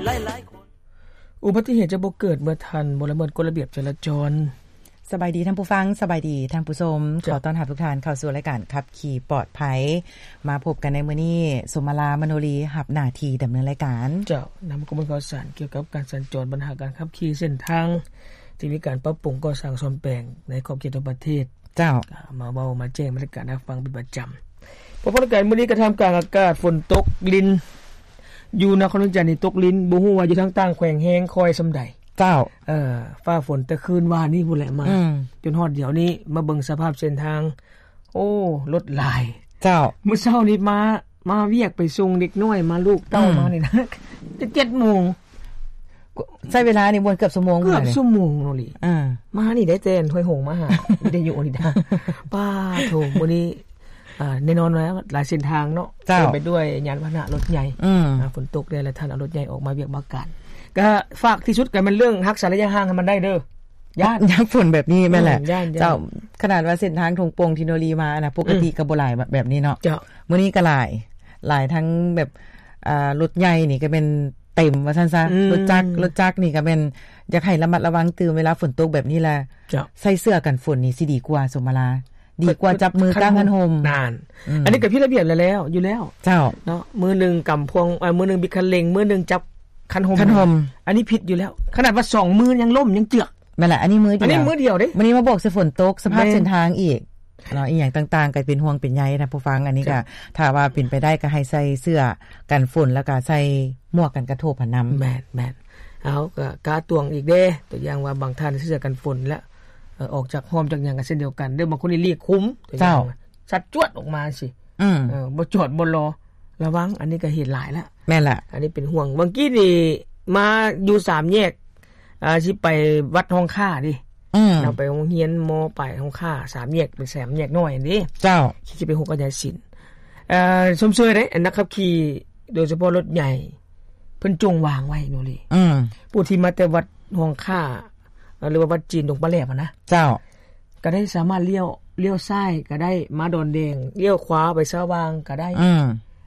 ຫຼາຍໆຄົນ ອຸບັດຕິເຫດຈະບໍ່ເກີດເມື່ອທ່ານບໍ່ລະເມີດກົດລະບຽບຈະລາຈອນ. ສະບາຍດີທ່ານຜູ້ຟັງ, ສະບາຍດີທ່ານຜູ້ຊົມ. ເຈົ້າ. ຂໍຕ້ອນຮັບທຸກທ່ານເຂົ້າສູ່ລາຍການຂັບຂີ່ປອດໄພ. ມາພົບກັນໃນມື້ນີ້, ສົມມາລາ ມະໂນລີ ຮັບໜ້າທີ່ດຳເນີນລາຍການ. ເຈົ້າ. ນຳຂໍ້ມູນຂ່າວສານກ່ຽວກັບການສັນຈອນ, ບັນຫາການຂັບຂີ່ເສັ້ນທາງທີ່ມີການປັບປຸງກໍ່ສ້າງສ້ອມແປງໃນຂອບເຂດທົ່ວປະເທດ. ເຈົ້າ. ມາເວົ້າມາແຈ້ງບັນຍາກາດໃຫ້ຟັງເປັນປະຈຳ. ພໍໆກັນມື້ນີ້ກໍທ່າມກາງອາກາດຝົນຕົກລິນ ຢູ່ນະຄອນຫຼວງວຽງຈັນນີ້ຕົກລິນ, ບໍ່ຮູ້ວ່າຢູ່ທາງຕ່າງແຂວງແຮງຄ່ອຍສ່ຳໃດ. ເຈົ້າ. ເອີ ຟ້າຝົນແຕ່ຄືນວານນີ້ພຸ້ນແຫຼະມາ ອືມ ຈົນຮອດດຽວນີ້ ມາເບິ່ງສະພາບເສັ້ນທາງ ໂອ້ ລົດຫຼາຍ. ເຈົ້າ. ມື້ເຊົ້ານີ້ມາ ມາວຽກໄປສົ່ງເດັກນ້ອຍ ມາລູກເຕົ້າ ອືມ ມານີ້ນະ ແຕ່ເຈັດໂມງ ໃຊ້ເວລານີ້ບໍ່ເກືອບຊົ່ວໂມງ ເກືອບຊົ່ວໂມງເນາະລີ. ອ່າ ມານີ້ໄດ້ແຕ່ຫ້ວຍຫົງມາຫາ ວິທະຍຸນີ້ນະ. ປ້າໂທ ມື້ນີ້ ອ່າ ແນ່ນອນວ່າຫຼາຍເສັ້ນທາງເນາະ ເຈົ້າ ເຕັມໄປດ້ວຍຍານພາຫະນະລົດໃຫຍ່. ອືມ ອ່າ ຝົນຕົກແດ່ ແລະ ທ່ານເອົາລົດໃຫຍ່ອອກມາວຽກມາການ. ກະຝາກທີ່ສຸດກະແມ່ນເລື່ອງຮັກສາໄລຍະຫ່າງໃຫ້ມັນໄດ້ເດີ. ຢ້ານ ຍາມຝົນແບບນີ້ແມ່ນແຫຼະ. ອືມ ຢ້ານ ເຈົ້າ. ຂະໜາດວ່າເສັ້ນທາງທົ່ງໂປ່ງທີ່ໂນລີມານະ ປົກກະຕິ ອືມ ກໍບໍ່ຫຼາຍແບບນີ້ເນາະ. ເຈົ້າ. ມື້ນີ້ກໍຫຼາຍ ຫຼາຍທັງແບບ ອ່າ ລົດໃຫຍ່ນີ້ກໍແມ່ນເຕັມວ່າຊັ້ນຊະ. ອືມ ລົດຈັກ ລົດຈັກນີ້ກໍແມ່ນຢາກໃຫ້ລະມັດລະວັງຕື່ມເວລາຝົນຕົກແບບນີ້ແຫຼະ. ເຈົ້າ. ໃສ່ເສື້ອກັນຝົນນີ້ຊິດີກວ່າ ສົມມາລາ ດີກວ່າຈັບມືກາງຄັນຫົ່ມ. ນັ້ນ ອືມ ອັນນີ້ກໍຜິດລະບຽບແລ້ວ ຢູ່ແລ້ວ. ເຈົ້າ. ເນາະ ມືໜຶ່ງກຳພວງ ເອີ ມືໜຶ່ງບິດຄັນເລັ່ງ ມືໜຶ່ງຈັບຄັນຫົ່ມ ຄັນຫົ່ມ ອັນນີ້ຜິດຢູ່ແລ້ວ. ຂະໜາດວ່າສອງມືຍັງລົ້ມຍັງເຈືອກ. ແມ່ນລະ ອັນນີ້ມືດຽວ ອັນນີ້ມືດຽວເດ້. ມື້ນີ້ມາບອກໃສ່ຝົນຕົກ ສະພາບ ແມ່ນ ເສັ້ນທາງອີກເນາະ ອີ່ຫຍັງຕ່າງໆ ກໍເປັນຫ່ວງເປັນໃຍນະຜູ້ຟັງ. ອັນນີ້ກໍ ເຈົ້າ ຖ້າວ່າເປັນໄປໄດ້ກໍໃຫ້ໃສ່ເສື້ອກັນຝົນ ແລ້ວກໍໃສ່ໝວກກັນກະທົບຫັ້ນນຳ. ແມ່ນໆ. ເອົາ ກໍກະຕວງອີກເດ້ ຕົວຢ່າງວ່າບາງທ່ານໃສ່ເສື້ອກັນຝົນແລ້ວ ເອີ ອອກຈາກຮ່ມຈາກຫຍັງກໍເຊັ່ນດຽວກັນເດີ. ບາງຄົນນີ້ລີກຄຸມ ຕົວຢ່າງ ເຈົ້າ ຊັດຈວດອອກມາຊີ້. ອືມ ເອີ ບໍ່ຈອດບໍ່ລໍ ລະວັງ. ອັນນີ້ກໍເຫດຫຼາຍລະ. ແມ່ນລະ. ອັນນີ້ເປັນຫ່ວງ. ຫວ່າງກີ້ນີ້ມາຢູ່ສາມແຍກ ອ່າ ຊິໄປວັດຮ່ອງຂ້າເດ້. ອືມ ເນາະ ໄປໂຮງຮຽນ ມ.ປາຍຮ່ອງຂ້າ ສາມແຍກ ເປັນສາມແຍກນ້ອຍຫັ້ນເດ້. ເຈົ້າ. ຊິໄປຫົກກັນຍາສິນ. ເອີ ຊົມເຊີຍເດ້ ອັນນັກຂັບຂີ່ ໂດຍສະເພາະລົດໃຫຍ່ ເພິ່ນຈົ່ງວາງໄວ້ໂນລີ. ອືມ ຜູ້ທີ່ມາແຕ່ວັດຮ່ອງຂ້າ ເອີ ຫຼືວ່າວັດຈີນດົງປາແຫຼບຫັ້ນນະ. ເຈົ້າ. ກໍໄດ້ສາມາດລ້ຽວ ລ້ຽວຊ້າຍກໍໄດ້ ມາດອນແດງ ລ້ຽວຂວາໄປສະຫວ່າງກໍໄດ້. ອືມ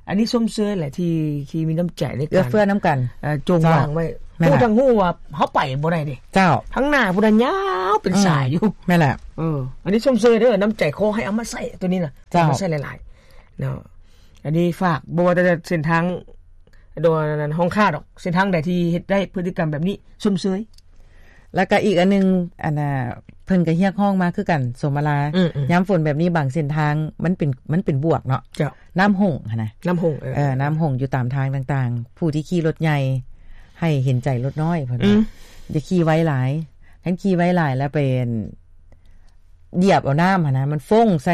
ອັນນີ້ຊົມເຊີຍແຫຼະ ທີ່ ທີ່ມີນ້ຳໃຈໃນການເອື້ອເຟື້ອນຳກັນ ເອີ ຈົ່ງວາງໄວ້. ເຈົ້າ. ແມ່ນລະ. ຜູ້ທັງຮູ້ວ່າເຮົາໄປບໍ່ໄດ້ເດ້. ເຈົ້າ. ທາງໜ້າພຸ້ນນະຍາວເປັນ ອືມ ສາຍຢູ່. ແມ່ນລະ. ເອີ ອັນນີ້ຊົມເຊີຍເດີ ນ້ຳໃຈຂໍໃຫ້ເອົາມາໃຊ້ຕົວນີ້ນະ. ເຈົ້າ. ເອົາມາໃຊ້ຫຼາຍໆເນາະ. ອັນນີ້ຝາກ ບໍ່ວ່າແຕ່ເສັ້ນທາງ ໂດຍອັນນັ້ນ ຮ່ອງຂ້າດອກ ເສັ້ນທາງໃດທີ່ເຮັດໄດ້ພຶດຕິກຳແບບນີ້ ຊົມເຊີຍ. ແລ້ວກໍອີກອັນໜຶ່ງ ອັນນ່າ ເພິ່ນກໍຮຽກຮ້ອງມາຄືກັນ ສົມມາລາ. ອືມໆ. ຍາມຝົນແບບນີ້ ບາງເສັ້ນທາງມັນເປັນ ມັນເປັນບວກເນາະ. ເຈົ້າ. ນ້ຳຫົ່ງຫັ້ນນະ. ນ້ຳຫົ່ງ. ເອີ ເອີ ນ້ຳຫົ່ງຢູ່ຕາມທາງຕ່າງໆ ຜູ້ທີ່ຂີ່ລົດໃຫຍ່ ໃຫ້ເຫັນໃຈລົດນ້ອຍເພິ່ນ. ອືມ. ຢ່າຂີ່ໄວຫຼາຍ ຄັນຂີ່ໄວຫຼາຍແລ້ວໄປ ຢຽບເອົານ້ຳຫັ້ນນະ ມັນຟົ້ງໃສ່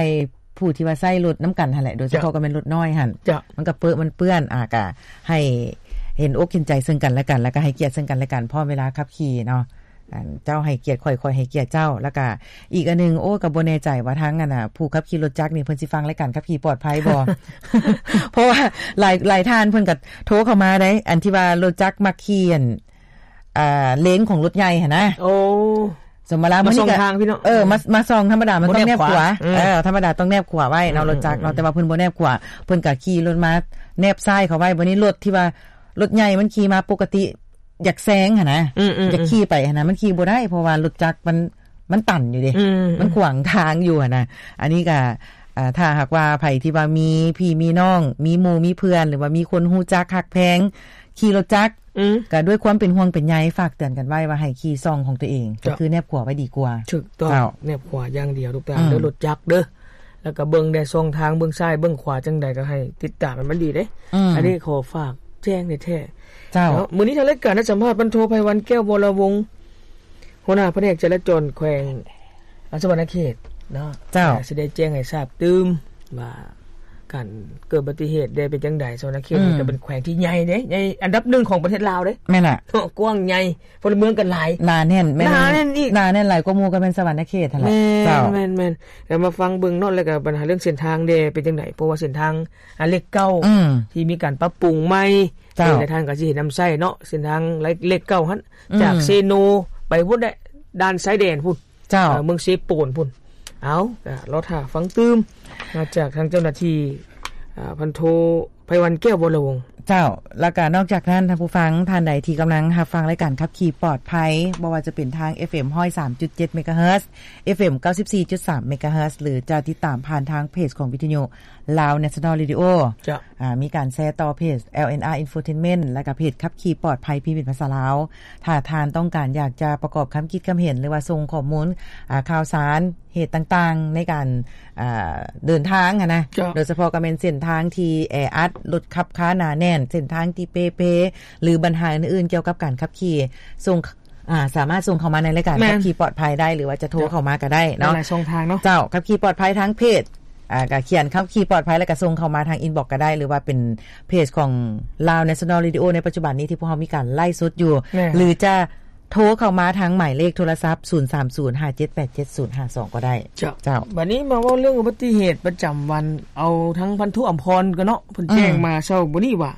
ຜູ້ທີ່ວ່າໃຊ້ລົດນຳກັນຫັ້ນແຫຼະ ໂດຍສະເພາະ ເຈົ້າ ກໍແມ່ນລົດນ້ອຍຫັ້ນ. ເຈົ້າ. ມັນກໍເປິະ ມັນເປື້ອນ ອາ ກະໃຫ້ເຫັນອົກເຫັນໃຈເຊິ່ງກັນແລະກັນ ແລ້ວກໍໃຫ້ກຽດເຊິ່ງກັນແລະກັນ ພ້ອມເວລາຂັບຂີ່ເນາະ. ອັນ ເຈົ້າໃຫ້ກຽດຂ້ອຍ ຂ້ອຍໃຫ້ກຽດເຈົ້າ. ແລ້ວກໍອີກອັນໜຶ່ງ ໂອ້ ກໍບໍ່ແນ່ໃຈວ່າທາງ ອັນນ່າ ຜູ້ຂັບຂີ່ລົດຈັກນີ້ ເພິ່ນຊິຟັງລາຍການຂັບຂີ່ປອດໄພບໍ່? ເພາະວ່າຫຼາຍ ຫຼາຍທ່ານເພິ່ນກໍໂທເຂົ້າມາໄດ໋ ອັນທີ່ວ່າລົດຈັກມັກຂີ່ ອ່າ ເລນຂອງລົດໃຫຍ່ຫັ້ນນະ. ໂອ້ ສົມມະລາ ມາສ່ອງທາງພີ່ນ້ອງ. ເອີ ມາ ມາສ່ອງ ທຳມະດາມັນຕ້ອງແນບຂວາ. ອືມ ເອີ ທຳມະດາຕ້ອງແນບຂວາໄວ້ເນາະ ອືມ ລົດຈັກເນາະ. ອືມ ແຕ່ວ່າເພິ່ນບໍ່ແນບຂວາ ເພິ່ນກໍຂີ່ລົດມາແນບຊ້າຍເຂົ້າໄວ້. ບັດນີ້ລົດທີ່ວ່າ ລົດໃຫຍ່ມັນຂີ່ມາປົກກະຕິ ຢາກແຊງຫັ້ນນະ. ອືມໆໆ ຢາກຂີ່ໄປຫັ້ນນະ ມັນຂີ່ບໍ່ໄດ້ ເພາະວ່າລົດຈັກມັນ ມັນຕັນຢູ່ເດ້. ອືມໆ ມັນຂວາງທາງຢູ່ຫັ້ນນະ. ອັນນີ້ກໍ ອ່າ ຖ້າຫາກວ່າໃຜທີ່ວ່າມີພີ່ມີນ້ອງ ມີໝູ່ມີເພື່ອນ ຫຼືວ່າມີຄົນຮູ້ຈັກຮັກແພງຂີ່ລົດຈັກ ອືມ ກໍດ້ວຍຄວາມເປັນຫ່ວງເປັນໃຍ ຝາກເຕືອນກັນໄວ້ວ່າໃຫ້ຂີ່ຊ່ອງຂອງຕົວເອງ. ເຈົ້າ. ກໍຄືແນບຂວາໄວ້ດີກວ່າ. ຖືກຕ້ອງ. ເຈົ້າ. ແນບຂວາຢ່າງດຽວ ລູກຫຼານເດີ. ອືມ ລົດຈັກເດີ ແລ້ວກໍເບິ່ງແດ່ຊ່ອງທາງ ເບິ່ງຊ້າຍເບິ່ງຂວາຈັ່ງໃດ ກໍໃຫ້ຕິດຕາມໃຫ້ມັນດີເດ້. ອືມ ອັນນີ້ຂໍຝາກແຈ້ງແທ້ໆ. ເຈົ້າ. ເນາະ ມື້ນີ້ທາງລາຍການໄດ້ສຳພາດ ພັນໂທ ໄພວັນ ແກ້ວວໍລະວົງ ຫົວໜ້າພະແນກຈະລາຈອນແຂວງ ອ່າ ສະຫວັນນະເຂດເນາະ. ເຈົ້າ. ກໍຊິໄດ້ແຈ້ງໃຫ້ຊາບຕື່ມວ່າ ການເກີດອຸບັດຕິເຫດໄດ້ເປັນຈັ່ງໃດ. ສະຫວັນນະເຂດ ອືມ ນີ້ກໍເປັນແຂວງທີ່ໃຫຍ່ເດ້ ໃຫຍ່ອັນດັບໜຶ່ງຂອງປະເທດລາວເດ້. ແມ່ນລະ. ເນາະ ກວ້າງໃຫຍ່ ພົນລະເມືອງກໍຫຼາຍ ໜາແໜ້ນ. ແມ່ນ ໜາແໜ້ນອີກ ໜາແໜ້ນຫຼາຍກວ່າໝູ່ກໍແມ່ນສະຫວັນນະເຂດຫັ້ນແຫຼະ. ແມ່ນ ເຈົ້າ. ແມ່ນໆ. ແລ້ວມາຟັງເບິ່ງເນາະ ແລ້ວກໍບັນຫາເລື່ອງເສັ້ນທາງເດ້ເປັນຈັ່ງໃດ ເພາະວ່າເສັ້ນທາງ ອ່າ ເລກເກົ້າ ອືມ ທີ່ມີການປັບປຸງໃໝ່. ເຈົ້າ. ຫຼາຍໆທ່ານກໍຊິເຫັນນຳໃຊ້ເນາະ ເສັ້ນທາງເລກເກົ້າຫັ້ນ ອືມ ຈາກເຊໂນໄປພຸ້ນແຫຼະ ດ່ານຊາຍແດນພຸ້ນ. ເຈົ້າ. ເອີ ເມືອງເຊໂປນພຸ້ນ. ເອົາ ກໍລໍຖ້າຟັງຕື່ມ ມາຈາກທາງເຈົ້າໜ້າທີ່ ເອີ ພັນໂທ ໄພວັນ ແກ້ວວໍລະວົງ. ເຈົ້າ ແລ້ວກໍນອກຈາກນັ້ນ ທ່ານຜູ້ຟັງທ່ານໃດທີ່ກຳລັງຮັບຟັງລາຍການຂັບຂີ່ປອດໄພ ບໍ່ວ່າຈະເປັນທາງ ເອັຟເອັມ ຮ້ອຍສາມຈຸດເຈັດ ເມກາເຮີດ ເອັຟເອັມ ເກົ້າສິບສີ່ຈຸດສາມ ເມກາເຮີດ ຫຼືຈະຕິດຕາມຜ່ານທາງເພຈຂອງວິທະຍຸ Lao National Radio ເຈົ້າ ອາ ມີການແຊຕໍ່ເພຈ ແອລ ແອນ ອາ Infotainment ແລະກະເພຈຂັບຂີ່ປອດໄພ ພິມເປັນພາສາລາວ. ຖ້າທ່ານຕ້ອງການຢາກຈະປະກອບຄຳຄິດຄຳເຫັນ ຫຼືວ່າສົ່ງຂໍ້ມູນ ອາ ຂ່າວສານ ເຫດຕ່າງໆ ໃນການ ອາ ເດີນທາງຫັ້ນນະ ເຈົ້າ ໂດຍສະເພາະກໍແມ່ນເສັ້ນທາງທີ່ແອອັດ, ລົດຂັບຄາໜາແໜ້ນ, ເສັ້ນທາງທີ່ເປ່ເພ ຫຼືບັນຫາອື່ນໆກ່ຽວກັບການຂັບຂີ່ ສົ່ງ ອາ ສາມາດສົ່ງເຂົ້າມາໃນລາຍການ ແມ່ນ ຂັບຂີ່ປອດໄພໄດ້ ຫຼືວ່າຈະໂທ ເຈົ້າ ເຂົ້າມາກໍໄດ້ເນາະ ຫຼາຍໆຊ່ອງທາງເນາະ ເຈົ້າ. ຂັບຂີ່ປອດໄພທາງເພຈ ອາ ກໍຂຽນຂັບຂີ່ປອດໄພ ແລ້ວກໍສົ່ງເຂົ້າມາທາງ inbox ກໍໄດ້ ຫຼືວ່າເປັນເພຈຂອງ Lao National Radio ໃນປັດຈຸບັນນີ້ທີ່ພວກເຮົາມີການໄລຟ໌ສົດຢູ່ ແມ່ນ ຫຼືຈະໂທເຂົ້າມາທາງໝາຍເລກໂທລະສັບ ສູນສາມສູນ ຫ້າເຈັດແປດເຈັດ ສູນຫ້າສອງ ກໍໄດ້ ເຈົ້າ ເຈົ້າ. ບັດນີ້ມາເວົ້າເລື່ອງອຸບັດຕິເຫດປະຈຳວັນ ເອົາທາງພັນໂທອຳພອນກ່ອນເນາະ ເພິ່ນແຈ້ງ ອືມ ມາເຊົ້າມື້ນີ້ວ່າ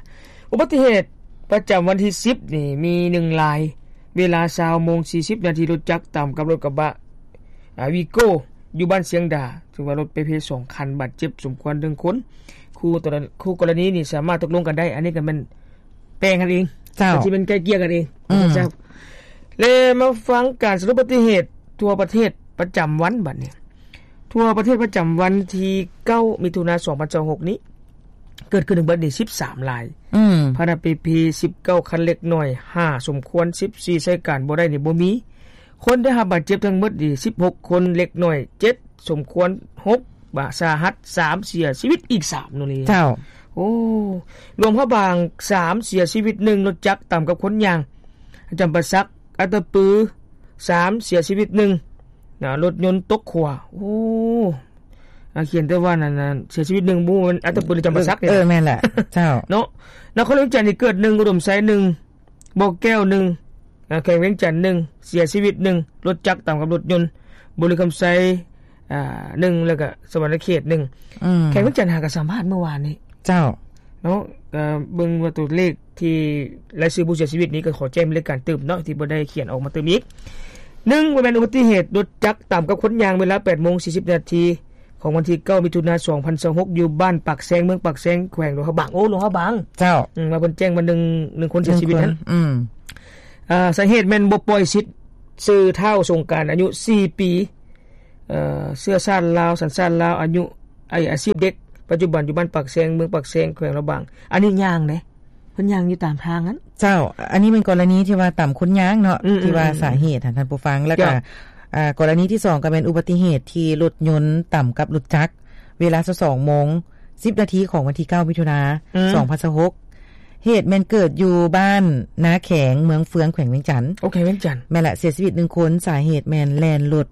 ອຸບັດຕິເຫດປະຈຳວັນທີສິບນີ້ມີໜຶ່ງລາຍ ເວລາຊາວໂມງສີ່ສິບນາທີ ລົດຈັກຕຳກັບລົດກະບະ ອາ ວີໂກ້ ຢູ່ບ້ານຊຽງດາ ຖືວ່າລົດເປ່ເພສອງຄັນ ບາດເຈັບສົມຄວນໜຶ່ງຄົນ ຄູ່ ຄູ່ກໍລະນີນີ້ສາມາດຕົກລົງກັນໄດ້ ອັນນີ້ກໍແມ່ນແປງກັນເອງ ເຈົ້າ ກໍຊິແມ່ນໄກ່ເກ່ຍກັນເອງ ອືມ ແລະມາຟັງການສະຫຼຸບອຸບັດຕິເຫດທົ່ວປະເທດປະຈຳວັນບັດນີ້ ທົ່ວປະເທດປະຈຳວັນທີເກົ້າ ມິຖຸນາ ສອງພັນຊາວຫົກນີ້ ເກີດຂຶ້ນທັງເບິດນີ້ສິບສາມລາຍ ອືມ ພາຫະນະເປ່ເພສິບເກົ້າຄັນ ເລັກນ້ອຍຫ້າ ສົມຄວນສິບສີ່ ໃຊ້ການບໍ່ໄດ້ນີ້ບໍ່ມີ ຄົນໄດ້ຮັບບາດເຈັບທັງເບິດນີ້ສິບຫົກຄົນ ເລັກນ້ອຍເຈັດ ສົມຄວນຫົກ ບາດສາຫັດສາມ ເສຍຊີວິດອີກສາມ ໂນເລ ເຈົ້າ ໂອ້ ຫຼວງພະບາງສາມ ເສຍຊີວິດໜຶ່ງ ລົດຈັກຕຳກັບຄົນຍ່າງ ຈຳປາສັກ ອັດຕະປື ສາມ ເສຍຊີວິດໜຶ່ງ ນະ ລົດຍົນຕົກຂົວ ໂອ້ ອາ ຂຽນແຕ່ວ່ານັ້ນ ເສຍຊີວິດໜຶ່ງ ບໍ່ແມ່ນອັດຕະປື ຫຼື ຈຳປາສັກນີ້ ເອີ ແມ່ນແຫຼະ ເຈົ້າ ເນາະ ນະຄອນຫຼວງວຽງຈັນນີ້ເກີດໜຶ່ງ ອຸດົມໄຊໜຶ່ງ ບໍ່ແກ້ວໜຶ່ງ ອາ ແຂວງວຽງຈັນໜຶ່ງ ເສຍຊີວິດໜຶ່ງ ລົດຈັກຕຳກັບລົດຍົນ ບໍລິຄຳໄຊ ອາ ໜຶ່ງ ແລ້ວກະສະຫວັນນະເຂດໜຶ່ງ ອືມ ແຂວງວຽງຈັນຫາກະສຳພາດມື້ວານນີ້ ເຈົ້າ ເນາະ ກະເບິ່ງວ່າຕົວເລກທີ່ລາຍຊື່ຜູ້ເສຍຊີວິດນີ້ ກໍຂໍແຈ້ງເປັນລາຍການຕື່ມເນາະ ທີ່ບໍ່ໄດ້ຂຽນອອກມາຕື່ມອີກ ໜຶ່ງ ວ່າແມ່ນອຸບັດຕິເຫດລົດຈັກຕຳກັບຄົນຍ່າງ ເວລາແປດໂມງສີ່ສິບນາທີ ຂອງວັນທີເກົ້າ ມິຖຸນາ ສອງພັນຊາວຫົກ ຢູ່ບ້ານປາກແຊງ ເມືອງປາກແຊງ ແຂວງຫຼວງພະບາງ ໂອ້ ຫຼວງພະບາງ ເຈົ້າ ອືມ ວ່າເພິ່ນແຈ້ງວ່າໜຶ່ງ ໜຶ່ງຄົນເສຍຊີວິດນັ້ນ ອືມ ອາ ສາເຫດແມ່ນບໍ່ປ່ອຍສິດຊື່ທ້າວສົງການ ອາຍຸສີ່ປີ ເອີ ເຊື້ອຊາດລາວ ສັນຊາດລາວ ອາຍຸ ອາ ອາຊີບເດັກ ປັດຈຸບັນຢູ່ບ້ານປາກແຊງ ເມືອງປາກແຊງ ແຂວງຫຼວງພະບາງ ອັນນີ້ຍ່າງເດ້ ເພິ່ນຍ່າງຢູ່ຕາມທາງນັ້ນ ເຈົ້າ ອັນນີ້ແມ່ນກໍລະນີທີ່ວ່າຕຳຄົນຍ່າງເນາະ ອືມໆໆ ທີ່ວ່າສາເຫດຫັ້ນ ທ່ານຜູ້ຟັງ ແລ້ວກໍ ເຈົ້າ ອາ ກໍລະນີທີສອງ ກໍແມ່ນອຸບັດຕິເຫດທີ່ລົດຍົນຕຳກັບລົດຈັກ ເວລາຊາວສອງໂມງສິບນາທີ ຂອງວັນທີເກົ້າ ມິຖຸນາ ອືມ ສອງພັນຊາວຫົກ ເຫດແມ່ນເກີດຢູ່ບ້ານນາແຂງ ເມືອງເຟືອງ ແຂວງວຽງຈັນ ໂອ ແຂວງວຽງຈັນ ແມ່ນລະ ເສຍຊີວິດໜຶ່ງຄົນ ສາເຫດແມ່ນແລ່ນລົດ